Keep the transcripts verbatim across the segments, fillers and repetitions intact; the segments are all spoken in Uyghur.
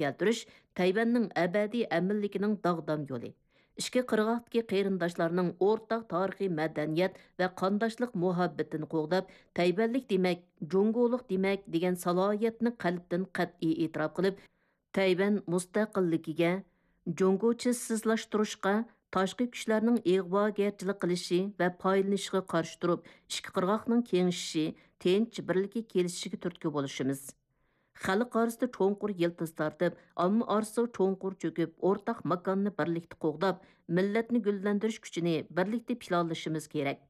كەلتۈرۈش تەيۋەننىڭ ئەبەدىي ئەمىنلىكىنىڭ داغدام يولى. ئىككى قىرغاقتىكى قېرىنداشلارنىڭ ئورتاق تارىخىي مەدەنىيەت ۋە قانداشلىق مۇھەببىتىنى قوغداپ، تەيۋەنلىك دېمەك، جۇڭگولۇق دېمەك دېگەن سالاھىيەتنى قەلبتىن قەتئىي ئېتىراپ قىلىپ، تەيۋەن مۇستەقىللىكىگە، جۇڭگوچىسىزلاشتۇرۇشقا، تاشقى كۈچلەرنىڭ ئىغۋاگەرچىلىك قىلىشى ۋە پايدىلىنىشىغا قارشى تۇرۇپ، ئىككى قىرغاقنىڭ كېڭىشىشى، تىنچ، بىرلىككە كېلىشىشىگە تۈرتكە بولۇشىمىز. خەلق ئارىسىدا چوڭقۇر يىلتىز تارتىپ، ئامما ئارىسىغا چوڭقۇر چۆكۈپ، ئورتاق ماكاننى بىرلىكتە قوغداپ، مىللەتنى گۈللەندۈرۈش كۈچىنى بىرلىكتە پىلانلىشىمىز كېرەك.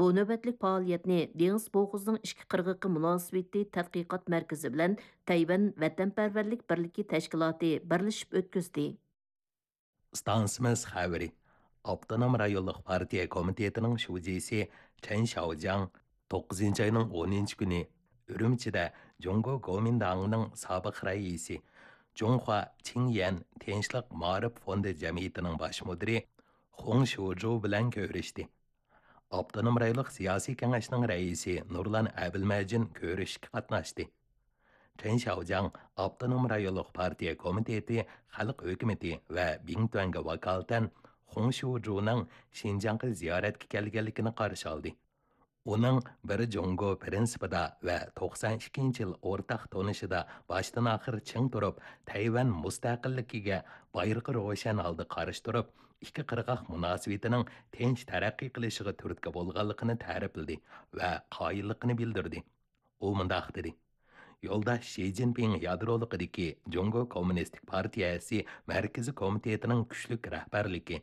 بۇ نۆۋەتلىك پائالىيەتنى دېڭىز بوغۇزىنىڭ ئىككى قىرغىقى مۇناسىۋىتى تەتقىقات مەركىزى بىلەن تەيۋەن ۋەتەنپەرۋەرلىك بىرلىكى تەشكىلاتى بىرلىشىپ ئۆتكۈزدى. ئىستانسىمىز خەۋىرى. ئاپتونوم رايونلۇق پارتىيە كومىتېتىنىڭ شۇجىسى چەن شياۋجياڭ توققۇزىنچى ئاينىڭ ئونىنچى كۈنى ئۈرۈمچىدە جۇڭگو گومىنداڭىنىڭ سابىق رەئىسى، جۇڭخۇا چىڭيەن تىنچلىق مائارىپ فوندى جەمئىيىتىنىڭ باش مۇدىرى خۇڭ شۇجۇ بىلەن كۆرۈشتى. ئاپتونوم رايونلۇق سىياسىي كېڭەشنىڭ رەئىسى نۇرلان ئەبىلمەجىن كۆرۈشۈشكە قاتناشتى. چېن شياۋجياڭ ئاپتونوم رايونلۇق پارتىيە كومىتېتى خەلق ھۆكۈمىتى ۋە بىڭتۈەنگە ۋاكالىتەن خۇڭ شۇجۇنىڭ شىنجاڭغا زىيارەتكە كەلگەنلىكىنى قارشى ئالدى. ئۇنىڭ بىر جۇڭگو پىرىنسىپىدا ۋە توقسان ئىككىنچى يىل ئورتاق تونۇشىدا باشتىن ئاخىر چىڭ تۇرۇپ، تەيۋەن مۇستەقىللىكىگە بايرىقى روشەن ھالدا قارشى تۇرۇپ، ئىككى قىرغاق مۇناسىۋىتىنىڭ تىنچ تەرەققىي قىلىشىغا تۈرتكە بولغانلىقىنى تەرىپلىدى ۋە قايىللىقىنى بىلدۈردى. ئۇ مۇنداق دېدى: يولداش شى جىنپىڭ يادرولۇقىدىكى جۇڭگو كوممۇنىستىك پارتىيەسى مەركىزىي كومىتېتىنىڭ كۈچلۈك رەھبەرلىكى،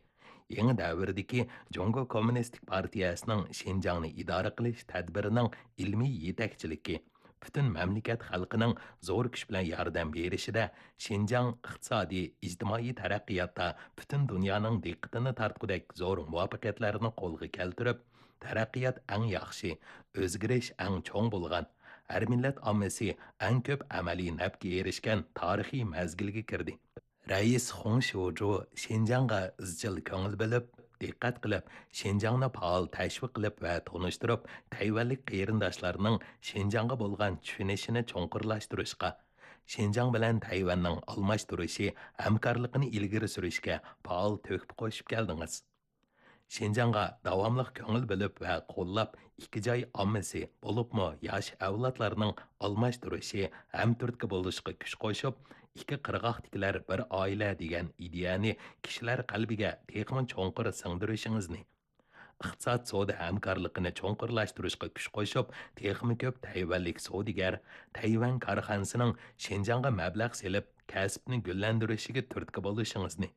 يېڭى دەۋردىكى جۇڭگو كوممۇنىستىك پارتىيەسىنىڭ شىنجاڭنى ئىدارە قىلىش تەدبىرىنىڭ ئىلمىي يېتەكچىلىكى، پۈتۈن مەملىكەت خەلقىنىڭ زور كۈچ بىلەن ياردەم بېرىشىدە شىنجاڭ ئىقتىسادىي، ئىجتىمائىي تەرەققىياتتا پۈتۈن دۇنيانىڭ دىققىتىنى تارتقۇدەك زور مۇۋەپپەقىيەتلەرنى قولغا كەلتۈرۈپ، تەرەققىيات ئەڭ ياخشى، ئۆزگىرىش ئەڭ چوڭ بولغان، ھەر مىللەت ئاممىسى ئەڭ كۆپ ئەمەلىي نەپكە ئېرىشكەن تارىخىي مەزگىلگە كىردى. رەئىس خۇڭ شيۇجۇ شىنجاڭغا ئىزچىل كۆڭۈل بۆلۈپ، دىققەت قىلىپ، شىنجاڭنى پائال تەشۋىق قىلىپ ۋە تونۇشتۇرۇپ، تەيۋەنلىك قېرىنداشلارنىڭ شىنجاڭغا بولغان چۈشىنىشىنى چوڭقۇرلاشتۇرۇشقا، شىنجاڭ بىلەن تەيۋەننىڭ ئالماشتۇرۇشى، ھەمكارلىقىنى ئىلگىرى سۈرۈشكە پائال تۆھپە قوشۇپ كەلدىڭىز. شىنجاڭغا داۋاملىق كۆڭۈل بۆلۈپ ۋە قوللاپ، ئىككى جاي ئاممىسى، بولۇپمۇ ياش ئەۋلادلارنىڭ ئالماشتۇرۇشى ھەم تۈرتكە بولۇشىغا كۈچ قوشۇپ، ئىككى قىرغاقتىكىلەر بىر ئائىلە دېگەن ئىدىيەنى كىشىلەر قەلبىگە تېخىمۇ چوڭقۇر سىڭدۈرۈشىڭىزنى، ئىقتىساد سودا ھەمكارلىقىنى چوڭقۇرلاشتۇرۇشقا كۈچ قوشۇپ، تېخىمۇ كۆپ تەيۋەنلىك سودىگەر، تەيۋەن كارخانىسىنىڭ شىنجاڭغا مەبلەغ سېلىپ، كەسىپنى گۈللەندۈرۈشىگە تۈرتكە بولۇشىڭىزنى،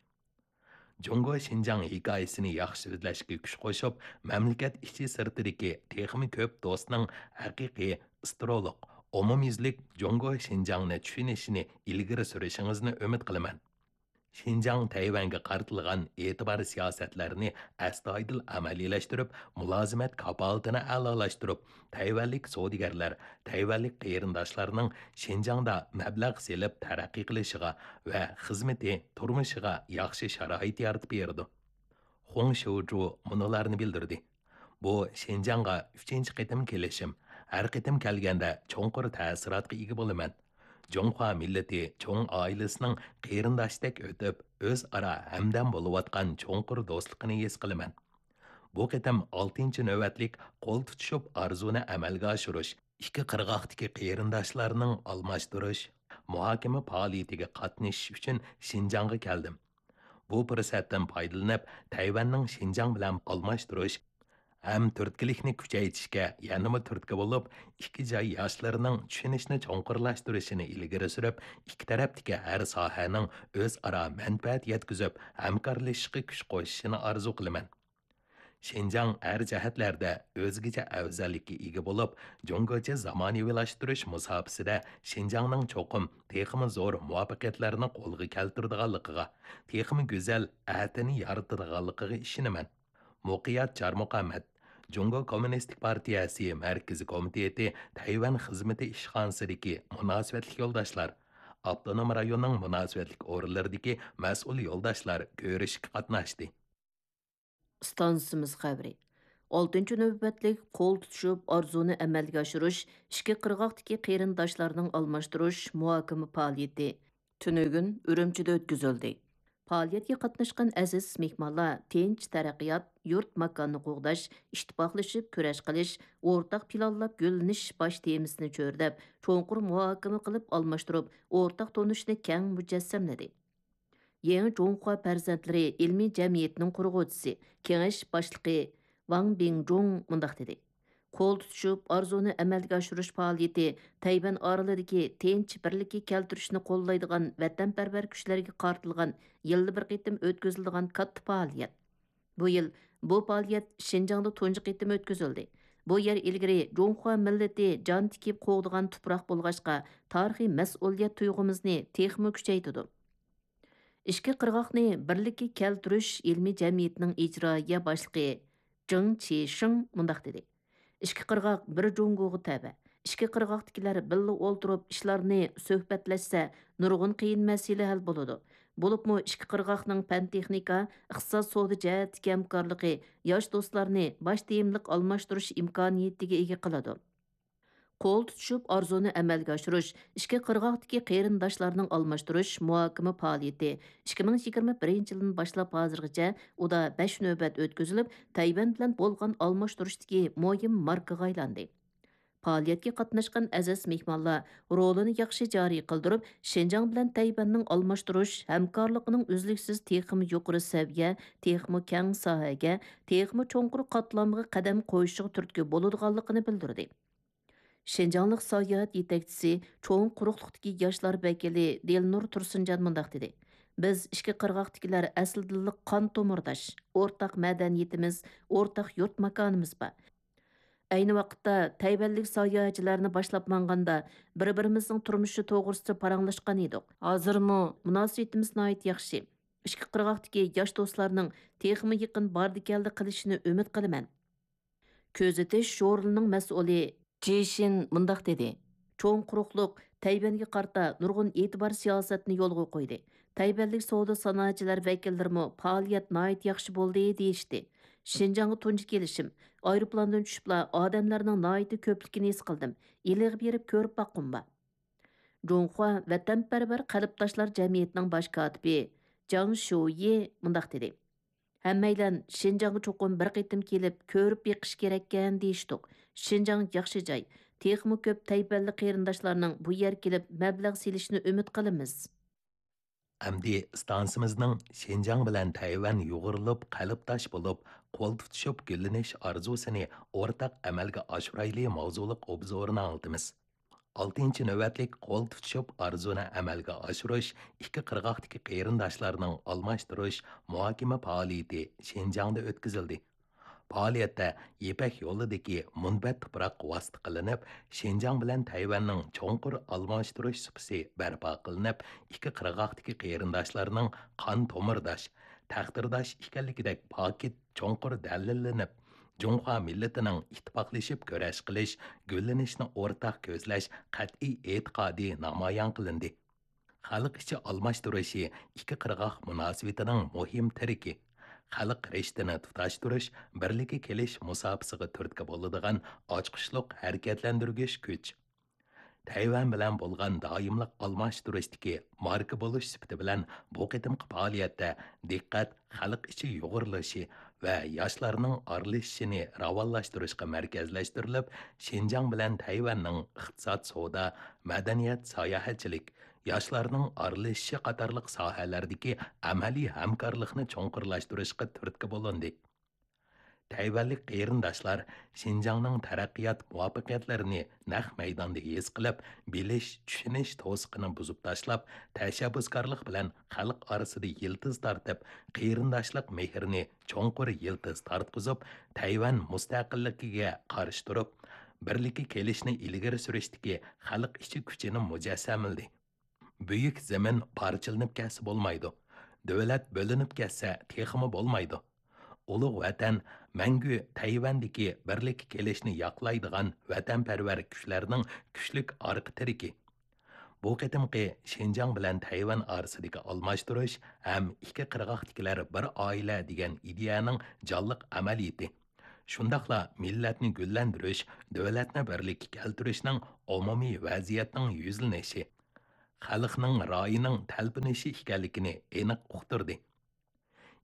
جۇڭگو شىنجاڭ ھېكايىسىنى ياخشى سۆزلەشكە كۈچ قوشۇپ، مەملىكەت ئىچى سىرتىدىكى تېخىمۇ كۆپ دوستنىڭ ھەقىقىي، ئىسترولۇق، ئومۇميۈزلۈك جۇڭگو شىنجاڭنى چۈشىنىشىنى ئىلگىرى سۈرۈشىڭىزنى ئۈمىد قىلىمەن. شىنجاڭ تەيۋەنگە قارىتىلغان ئېتىبار سىياسەتلەرنى ئەستايىدىل ئەمەلىيلەشتۈرۈپ، مۇلازىمەت كاپالىتىنى ئەلالاشتۇرۇپ، تەيۋەنلىك سودىگەرلەر، تەيۋەنلىك قېرىنداشلارنىڭ شىنجاڭدا مەبلەغ سېلىپ تەرەققىي قىلىشىغا ۋە خىزمىتى، تۇرمۇشىغا ياخشى شارائىت يارىتىپ بېرىدۇ. خۇڭ شيۇجۇ مۇنۇلارنى بىلدۈردى: بۇ شىنجاڭغا ئۈچىنچى قېتىم كېلىشىم، ھەر قېتىم كەلگەندە چوڭقۇر تەسىراتقا ئىگە بولىمەن. جۇڭخۇا مىللىتى چوڭ ئائىلىسىنىڭ قېرىنداشتەك ئۆتۈپ، ئۆزئارا ھەمدەم بولۇۋاتقان چوڭقۇر دوستلۇقىنى ھېس قىلىمەن. بۇ قېتىم ئالتىنچى نۆۋەتلىك قول تۇتۇشۇپ ئارزۇنى ئەمەلگە ئاشۇرۇش، ئىككى قىرغاقتىكى قېرىنداشلارنىڭ ئالماشتۇرۇش، مۇھاكىمە پائالىيىتىگە قاتنىشىش ئۈچۈن شىنجاڭغا كەلدىم. بۇ پۇرسەتتىن پايدىلىنىپ، تەيۋەننىڭ شىنجاڭ بىلەن ئالماشتۇرۇش ھەم تۈرتكىلىكنى كۈچەيتىشكە يەنىمۇ تۈرتكە بولۇپ، ئىككى جاي ياشلىرىنىڭ چۈشىنىشنى چوڭقۇرلاشتۇرۇشىنى ئىلگىرى سۈرۈپ، ئىككى تەرەپتىكى ھەر ساھەنىڭ ئۆزئارا مەنپەئەت يەتكۈزۈپ، ھەمكارلىشىشقا كۈچ قوشۇشىنى ئارزۇ قىلىمەن. شىنجاڭ ھەر جەھەتلەردە ئۆزگىچە ئەۋزەللىككە ئىگە بولۇپ، جۇڭگوچە زامانىۋىلاشتۇرۇش مۇساپىسىدە شىنجاڭنىڭ چوقۇم تېخىمۇ زور مۇۋەپپەقىيەتلەرنى قولغا كەلتۈرىدىغانلىقىغا، تېخىمۇ گۈزەل ئەتىنى يارىتىدىغانلىقىغا ئىشىنىمەن. مۇقىيەت چارمۇقامەت، جۇڭگو كوممۇنىستىك پارتىيەسى مەركىزىي كومىتېتى تەيۋەن خىزمىتى ئىشخانىسىدىكى مۇناسىۋەتلىك يولداشلار، ئاپتونوم رايوننىڭ مۇناسىۋەتلىك ئورۇنلىرىدىكى مەسئۇل يولداشلار كۆرۈشۈشكە قاتناشتى. ئىستانسىمىز خەۋىرى. ئالتىنچى نۆۋەتلىك قول تۇتۇشۇپ ئارزۇنى ئەمەلگە ئاشۇرۇش، ئىككى قىرغاقتىكى قېرىنداشلارنىڭ ئالماشتۇرۇش مۇھاكىمە پائالىيىتى تۈنۈگۈن ئۈرۈمچىدە ئۆتكۈزۈلدى. پائالىيەتكە قاتناشقان ئەزىز مېھمانلار تىنچ تەرەققىيات، يۇرت ماكاننى قوغداش، ئىتتىپاقلىشىپ كۈرەش قىلىش، ئورتاق پىلانلاپ گۈللىنىش باش تېمىسىنى چۆرىدەپ، چوڭقۇر مۇھاكىمە قىلىپ ئالماشتۇرۇپ، ئورتاق تونۇشنى كەڭ مۇجەسسەملىدى. يېڭى جۇڭخۇا پەرزەنتلىرى ئىلمىي جەمئىيىتىنىڭ قۇرغۇچىسى، كېڭەش باشلىقى ۋاڭ بىڭجۇڭ مۇنداق دېدى: قول تۇتۇشۇپ ئارزۇنى ئەمەلگە ئاشۇرۇش پائالىيىتى تەيۋەن ئارىلىدىكى تىنچ بىرلىككە كەلتۈرۈشنى قوللايدىغان ۋەتەنپەرۋەر كۈچلەرگە قارىتىلغان يىلدا بىر قېتىم ئۆتكۈزۈلىدىغان كاتتا پائالىيەت. بۇ يىل بۇ پائالىيەت شىنجاڭدا تۇنجى قېتىم ئۆتكۈزۈلدى. بۇ يەر ئىلگىرى جۇڭخۇا مىللىتى جان تىكىپ قوغدىغان تۇپراق بولغاچقا، تارىخىي مەسئۇلىيەت تۇيغۇمىزنى تېخىمۇ كۈچەيتىدۇ. ئىككى قىرغاقنى بىرلىككە كەلتۈرۈش ئىلمىي جەمئىيىتىنىڭ ئىجرائىيە باشلىقى جېڭ چىشىڭ مۇنداق دېدى: ئىككى قىرغاق بىر جۇڭگوغا تەۋە. ئىككى قىرغاقتىكىلەر بىللە ئولتۇرۇپ ئىشلارنى سۆھبەتلەشسە، نۇرغۇن قىيىن مەسىلە ھەل بولىدۇ. بولۇپمۇ ئىككى قىرغاقنىڭ پەن-تېخنىكا، ئىقتىساد، سودا جەھەتتىكى ھەمكارلىقى ياش دوستلارنى باش تېمىلىق ئالماشتۇرۇش ئىمكانىيىتىگە ئىگە قىلىدۇ. قول تۇتۇشۇپ ئارزۇنى ئەمەلگە ئاشۇرۇش، ئىككى قىرغاقتىكى قېرىنداشلارنىڭ ئالماشتۇرۇش مۇھاكىمە پائالىيىتى ئىككى مىڭ يىگىرمە بىرىنچى يىلدىن باشلاپ ھازىرغىچە ئۇدا بەش نۆۋەت ئۆتكۈزۈلۈپ، تەيۋەن بىلەن بولغان ئالماشتۇرۇشتىكى مۇھىم ماركىغا ئايلاندى. پائالىيەتكە قاتناشقان ئەزىز مېھمانلار رولىنى ياخشى جارى قىلدۇرۇپ، شىنجاڭ بىلەن تەيۋەننىڭ ئالماشتۇرۇش ھەمكارلىقىنىڭ ئۈزلۈكسىز تېخىمۇ يۇقىرى سەۋىيە، تېخىمۇ كەڭ ساھەگە، تېخىمۇ چوڭقۇر قاتلامغا قەدەم قويۇشىغا تۈرتكە بولىدىغانلىقىنى بىلدۈردى. شىنجاڭلىق ساياھەت يېتەكچىسى، چوڭ قۇرۇقلۇقتىكى ياشلار ۋەكىلى دىلنۇر تۇرسۇنجان مۇنداق دېدى: بىز ئىككى قىرغاقتىكىلەر ئەسلىدىنلا قان تومۇرداش، ئورتاق مەدەنىيىتىمىز، ئورتاق يۇرت ماكانىمىز بار. ئەينى ۋاقىتتا تەيۋەنلىك ساياھەتچىلەرنى باشلاپ ماڭغاندا، بىر-بىرىمىزنىڭ تۇرمۇشى توغرىسىدا پاراڭلاشقان ئىدۇق. ھازىرمۇ مۇناسىۋىتىمىز ناھايىتى ياخشى. ئىككى قىرغاقتىكى ياش دوستلارنىڭ تېخىمۇ يېقىن باردى-كەلدى قىلىشىنى ئۈمىد قىلىمەن. كۆزىتىش ژۇرنىلىنىڭ مەسئۇلى جېشىن مۇنداق دېدى: چوڭ قۇرۇقلۇق تەيۋەنگە قارىتا نۇرغۇن ئېتىبار سىياسەتنى يولغا قويدى. تەيۋەنلىك سودا سانائەتچىلەر ۋەكىللىرىمۇ پائالىيەت ناھايىتى ياخشى بولدى دېيىشتى. شىنجاڭغا تۇنجى كېلىشىم. ئايروپىلاندىن چۈشۈپلا ئادەملەرنىڭ ناھايىتى كۆپلۈكىنى ھېس قىلدىم. ئىلىغا بېرىپ كۆرۈپ باققۇم بار. جۇڭخۇا ۋەتەنپەرۋەر قەلبداشلار جەمئىيىتىنىڭ باش كاتىپى جاڭ شۇيى مۇنداق دېدى: ھەممەيلەن شىنجاڭغا چوقۇم بىر قېتىم كېلىپ كۆرۈپ بېقىش كېرەككەن دېيىشتۇق. شىنجاڭ ياخشى جاي. تېخىمۇ كۆپ تەيۋەنلىك قېرىنداشلارنىڭ بۇ يەرگە كېلىپ مەبلەغ سېلىشىنى ئۈمىد قىلىمىز. ئەمدى ئىستانسىمىزنىڭ شىنجاڭ بىلەن تەيۋەن يۇغۇرۇلۇپ قەلبداش بولۇپ، قول تۇتۇشۇپ گۈللىنىش ئارزۇسىنى ئورتاق ئەمەلگە ئاشۇرايلى ماۋزۇلۇق ئوبزورىنى ئاڭلىتىمىز. ئالتىنچى نۆۋەتلىك قول تۇتۇشۇپ ئارزۇنى ئەمەلگە ئاشۇرۇش، ئىككى قىرغاقتىكى قېرىنداشلارنىڭ ئالماشتۇرۇش، مۇھاكىمە پائالىيىتى شىنجاڭدا ئۆتكۈزۈلدى. پائالىيەتتە يىپەك يولىدىكى مۇنبەت تۇپراق ۋاسىتە قىلىنىپ، شىنجاڭ بىلەن تەيۋەننىڭ چوڭقۇر ئالماشتۇرۇش سۇپىسى بەرپا قىلىنىپ، ئىككى قىرغاقتىكى قېرىنداشلارنىڭ قان تومۇرداش، تەقدىرداش ئىكەنلىكىدەك پاكىت چوڭقۇر دەلىللىنىپ، جۇڭخۇا مىللىتىنىڭ ئىتتىپاقلىشىپ كۈرەش قىلىش، گۈللىنىشنى ئورتاق كۆزلەش قەتئىي ئېتىقادى نامايان قىلىندى. خەلق ئىچى ئالماشتۇرۇشى ئىككى قىرغاق مۇناسىۋىتىنىڭ مۇھىم تىرىكى. خەلق رىشتىنى تۇتاشتۇرۇش، بىرلىككە كېلىش مۇساپىسىغا تۈرتكە بولىدىغان ئاچقۇچلۇق ھەرىكەتلەندۈرگۈچ كۈچ. تەيۋەن بىلەن بولغان دائىملىق ئالماشتۇرۇشتىكى ماركا بولۇش سۈپىتى بىلەن بۇ قېتىمقى پائالىيەتتە دىققەت خەلق ئىچى يۇغۇرۇلۇشى ۋە ياشلارنىڭ ئارىلىشىشىنى راۋانلاشتۇرۇشقا مەركەزلەشتۈرۈلۈپ، شىنجاڭ بىلەن تەيۋەننىڭ ئىقتىساد، سودا، مەدەنىيەت، ساياھەتچىلىك، ياشلارنىڭ ئارىلىشىشى قاتارلىق ساھەلەردىكى ئەمەلىي ھەمكارلىقنى چوڭقۇرلاشتۇرۇشقا تۈرتكە بولۇندى. تەيۋەنلىك قېرىنداشلار شىنجاڭنىڭ تەرەققىيات مۇۋەپپەقىيەتلىرىنى نەق مەيداندا ھېس قىلىپ، بىلىش، چۈشىنىش توسۇقىنى بۇزۇپ تاشلاپ، تەشەببۇسكارلىق بىلەن خەلق ئارىسىدا يىلتىز تارتىپ، قېرىنداشلىق مېھرىنى چوڭقۇر يىلتىز تارتقۇزۇپ، تەيۋەن مۇستەقىللىكىگە قارشى تۇرۇپ، بىرلىككە كېلىشنى ئىلگىرى سۈرۈشتىكى خەلق ئىچى كۈچىنى مۇجەسسەملىدى. بۈيۈك زېمىن پارچىلىنىپ كەتسە بولمايدۇ. دۆلەت بۆلۈنۈپ كەتسە تېخىمۇ بولمايدۇ. ئۇلۇغ ۋەتەن مەڭگۈ تەيۋەندىكى بىرلىككە كېلىشنى ياقلايدىغان ۋەتەنپەرۋەر كۈچلەرنىڭ كۈچلۈك ئارقا تىرىكى. بۇ قېتىمقى شىنجاڭ بىلەن تەيۋەن ئارىسىدىكى ئالماشتۇرۇش ھەم ئىككى قىرغاقتىكىلەر بىر ئائىلە دېگەن ئىدىيەنىڭ جانلىق ئەمەلىيىتى. شۇنداقلا مىللەتنى گۈللەندۈرۈش، دۆلەتنى بىرلىككە كەلتۈرۈشنىڭ ئومۇمىي ۋەزىيەتنىڭ يۈزلىنىشى. خەلقنىڭ رايىنىڭ تەلپۈنۈشى ئىكەنلىكىنى ئېنىق ئۇقتۇردى.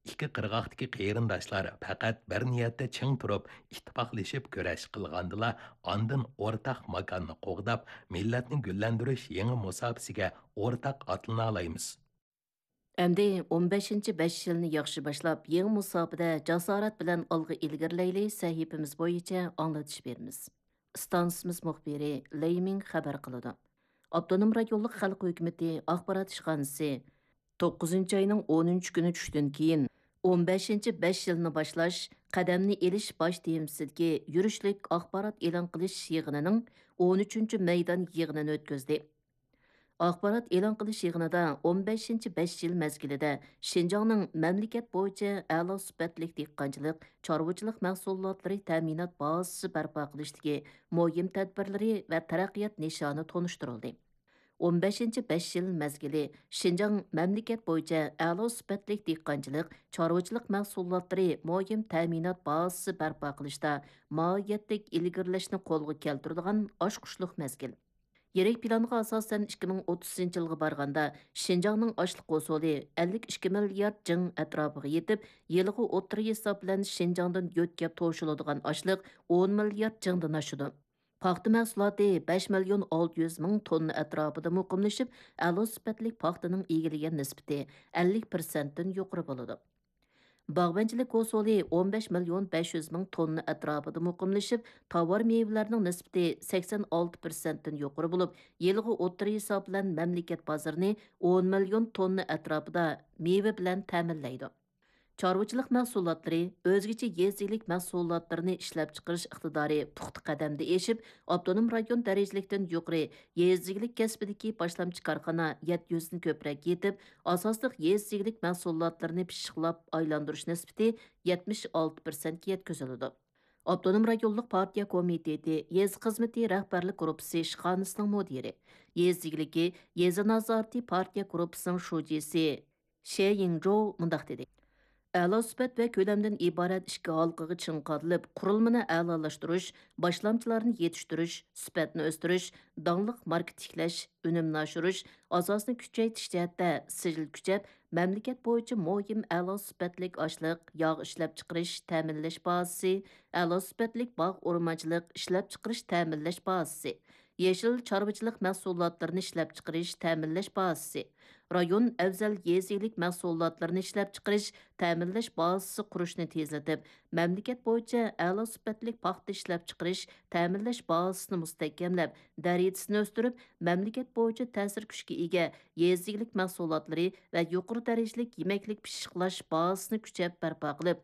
ئىككى قىرغاقتىكى قېرىنداشلار پەقەت بىر نىيەتتە چىڭ تۇرۇپ، ئىتتىپاقلىشىپ كۈرەش قىلغاندىلا، ئاندىن ئورتاق ماكاننى قوغداپ، مىللەتنى گۈللەندۈرۈش يېڭى مۇساپىسىگە ئورتاق ئاتلىنالايمىز. ئەمدى ئون بەشىنچى بەش يىلنى ياخشى باشلاپ، يېڭى مۇساپىدە جاسارەت بىلەن ئالغا ئىلگىرىلەيلى سەھىپىمىز بويىچە ئاڭلىتىش بېرىمىز. ئىستانسىمىز مۇخبىرى لېي مىڭ خەۋەر قىلىدۇ. ئاپتونوم رايونلۇق خەلق ھۆكۈمىتى ئاخبارات ئىشخانىسى توققۇزىنچى ئاينىڭ ئونىنچى كۈنى چۈشتىن كېيىن، ئون بەشىنچى بەش يىلنى باشلاش، قەدەمنى ئېلىش باش تېمىسىدىكى يۈرۈشلۈك ئاخبارات ئېلان قىلىش يىغىنىنىڭ ئون ئۈچىنچى مەيدان يىغىنىنى ئۆتكۈزدى. ئاخبارات ئېلان قىلىش يىغىنىدا ئون بەشىنچى بەش يىل مەزگىلىدە شىنجاڭنىڭ مەملىكەت بويىچە ئەلا سۈپەتلىك دېھقانچىلىق، چارۋىچىلىق مەھسۇلاتلىرى تەمىنات بازىسى بەرپا قىلىشتىكى مۇھىم تەدبىرلىرى ۋە تەرەققىيات نىشانى تونۇشتۇرۇلدى. ئون بەشىنچى بەش يىل مەزگىلى شىنجاڭ مەملىكەت بويىچە ئەلا سۈپەتلىك دېھقانچىلىق، چارۋىچىلىق مەھسۇلاتلىرى مۇھىم تەمىنات بازىسى بەرپا قىلىشتا ماھىيەتلىك ئىلگىرىلەشنى قولغا كەلتۈرىدىغان ئاچقۇچلۇق مەزگىل. يىرىك پىلانغا ئاساسەن، ئىككى مىڭ ئوتتۇزىنچى يىلغا بارغاندا، شىنجاڭنىڭ ئاشلىق ھوسۇلى ئەللىك ئىككى مىليارد جىڭ ئەتراپىغا يېتىپ، يىلىغا ئوتتۇرا ھېساب بىلەن شىنجاڭدىن يۆتكەپ توشۇلىدىغان ئاشلىق ئون مىليارد جىڭدىن ئاشىدۇ. پاختا مەھسۇلاتى بەش مىليون ئالتە يۈز مىڭ توننا ئەتراپىدا مۇقىملىشىپ، ئەلا سۈپەتلىك پاختىنىڭ ئىگىلىگەن نىسبىتى ئەللىك پىرسەنتتىن يۇقىرى بولىدۇ. باغۋەنچىلىك ھوسۇلى ئون بەش مىليون بەش يۈز مىڭ توننا ئەتراپىدا مۇقىملىشىپ، تاۋار مېۋىلەرنىڭ نىسبىتى سەكسەن ئالتە پىرسەنتتىن يۇقىرى بولۇپ، يىلىغا ئوتتۇرا ھېساب بىلەن مەملىكەت بازىرىنى ئون مىليون توننا ئەتراپىدا مېۋە بىلەن تەمىنلەيدۇ. چارۋىچىلىق مەھسۇلاتلىرى، ئۆزگىچە يېزا ئىگىلىك مەھسۇلاتلىرىنى ئىشلەپچىقىرىش ئىقتىدارى پۇختا قەدەمدە ئېشىپ، ئاپتونوم رايون دەرىجىلىكتىن يۇقىرى يېزا ئىگىلىك كەسپىدىكى باشلامچى كارخانا يەتتە يۈزدىن كۆپرەك يېتىپ، ئاساسلىق يېزا ئىگىلىك مەھسۇلاتلىرىنى پىششىقلاپ ئايلاندۇرۇش نىسبىتى يەتمىش ئالتە پىرسەنتكە يەتكۈزۈلىدۇ. ئاپتونوم رايونلۇق پارتىيە كومىتېتى يېزا خىزمىتى رەھبەرلىك گۇرۇپپىسى ئىشخانىسىنىڭ مۇدىرى، يېزا ئىگىلىكى، يېزا نازارىتى پارتىيە گۇرۇپپىسىنىڭ شۇجىسى شې يىڭجوۋ مۇنداق دېدى: ئەلا سۈپەت ۋە كۆلەمدىن ئىبارەت ئىككى ھالقىغا چىڭ قادىلىپ، قۇرۇلمىنى ئەلالاشتۇرۇش، باشلامچىلارنى يېتىشتۈرۈش، سۈپەتنى ئۆستۈرۈش، داڭلىق ماركا تىكلەش، ئۈنۈمنى ئاشۇرۇش، ئاساسنى كۈچەيتىش جەھەتتە سىجىل كۈچەپ، مەملىكەت بويىچە مۇھىم ئەلا سۈپەتلىك ئاشلىق، ياغ ئىشلەپچىقىرىش، تەمىنلەش بازىسى، ئەلا سۈپەتلىك باغ ئورمانچىلىق ئىشلەپچىقىرىش، تەمىنلەش بازىسى، يېشىل چارۋىچىلىق مەھسۇلاتلىرىنى ئىشلەپچىقىرىش، تەمىنلەش بازىسى، رايون ئەۋزەل يېزا ئىگىلىك مەھسۇلاتلىرىنى ئىشلەپچىقىرىش، تەمىنلەش بازىسى قۇرۇشنى تېزلىتىپ، مەملىكەت بويىچە ئەلا سۈپەتلىك پاختا ئىشلەپچىقىرىش، تەمىنلەش بازىسىنى مۇستەھكەملەپ، دەرىجىسىنى ئۆستۈرۈپ، مەملىكەت بويىچە تەسىر كۈچكە ئىگە يېزا ئىگىلىك مەھسۇلاتلىرى ۋە يۇقىرى دەرىجىلىك يېمەكلىك پىششىقلاش بازىسىنى كۈچەپ بەرپا قىلىپ،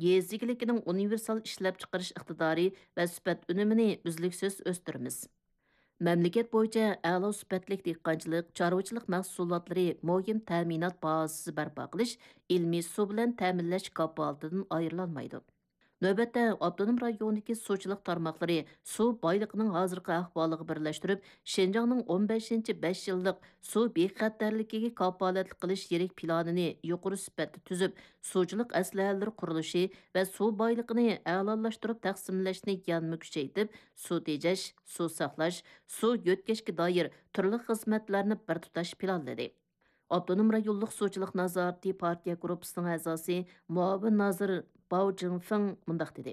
يېزا ئىگىلىكىنىڭ ئۇنىۋېرسال ئىشلەپچىقىرىش ئىقتىدارى ۋە سۈپەت ئۈنۈمىنى ئۈزلۈكسىز ئۆستۈرىمىز. مەملىكەت بويىچە ئەلا سۈپەتلىك دېھقانچىلىق، چارۋىچىلىق مەھسۇلاتلىرى مۇھىم تەمىنات بازىسى بەرپا قىلىش، ئىلمىي سۇ بىلەن تەمىنلەش كاپالىتىدىن ئايرىلالمايدۇ. نۆۋەتتە، ئاپتونوم رايوندىكى سۇچىلىق تارماقلىرى سۇ بايلىقىنىڭ ھازىرقى ئەھۋالىغا بىرلەشتۈرۈپ، شىنجاڭنىڭ ئون بەشىنچى بەش يىللىق سۇ بىخەتەرلىكىگە كاپالەتلىك قىلىش يىرىك پىلانىنى يۇقىرى سۈپەتتە تۈزۈپ، سۇچىلىق ئەسلىھەلىرى قۇرۇلۇشى ۋە سۇ بايلىقىنى ئەلالاشتۇرۇپ تەقسىملەشنى يەنىمۇ كۈچەيتىپ، سۇ تېجەش، سۇ ساقلاش، سۇ يۆتكەشكە دائىر تۈرلۈك خىزمەتلەرنى بىر تۇتاش پىلانلىدى. ئاپتونوم رايونلۇق سۇچىلىق نازارىتى پارتىيە گۇرۇپپىسىنىڭ ئەزاسى مۇئاۋىن نازىر باۋ جىڭفېڭ مۇنداق دېدى: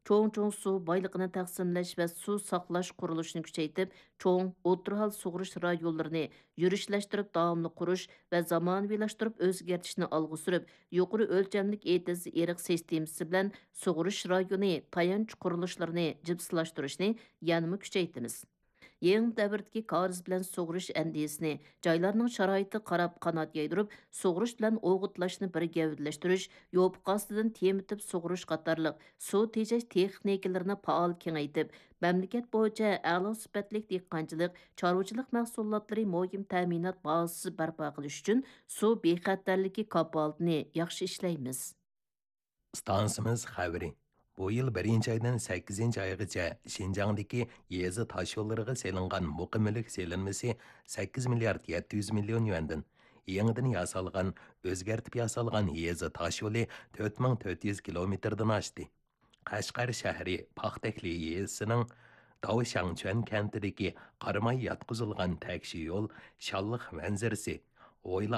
چوڭ-چوڭ سۇ بايلىقىنى تەقسىملەش ۋە سۇ ساقلاش قۇرۇلۇشىنى كۈچەيتىپ، چوڭ، ئوتتۇرا ھال سۇغىرىش رايونلىرىنى يۈرۈشلەشتۈرۈپ داۋاملىق قۇرۇش ۋە زامانىۋىلاشتۇرۇپ ئۆزگەرتىشنى ئالغا سۈرۈپ، يۇقىرى ئۆلچەملىك ئېتىز ئېرىق سىستېمىسى بىلەن سۇغىرىش رايونى تايانچ قۇرۇلۇشلىرىنى جىپسىلاشتۇرۇشنى يەنىمۇ كۈچەيتىمىز. يېڭى دەۋردىكى كارىز بىلەن سۇغىرىش ئەندىزىسىنى جايلارنىڭ شارائىتىغا قاراپ قانات يايدۇرۇپ، سۇغىرىش بىلەن ئوغۇتلاشنى بىر گەۋدىلەشتۈرۈش، يوپۇق ئاستىدىن تېمىتىپ سۇغىرىش قاتارلىق سۇ تېجەش تېخنىكىلىرىنى پائال كېڭەيتىپ، مەملىكەت بويىچە ئەلا سۈپەتلىك دېھقانچىلىق، چارۋىچىلىق مەھسۇلاتلىرى مۇھىم تەمىنات بازىسى بەرپا قىلىش ئۈچۈن سۇ بىخەتەرلىكى كاپالىتىنى ياخشى ئىشلەيمىز. ئىستانسىمىز خەۋىرى. بۇ يىل بىرىنچى ئايدىن سەككىزىنچى ئايغىچە شىنجاڭدىكى يېزا تاشيوللىرىغا سېلىنغان مۇقىملىق سېلىنمىسى سەككىز مىليارد يەتتە يۈز مىليون يۈەندىن، يېڭىدىن ياسالغان، ئۆزگەرتىپ ياسالغان يېزا تاشيولى تۆت مىڭ تۆت يۈز كىلومېتىردىن ئاشتى. قەشقەر شەھىرى پاختەكلى يېزىسىنىڭ داۋ شاڭچۈەن كەنتىدىكى قاراماي ياتقۇزۇلغان تەكشى يول شانلىق مەنزىرىسى، ھويلا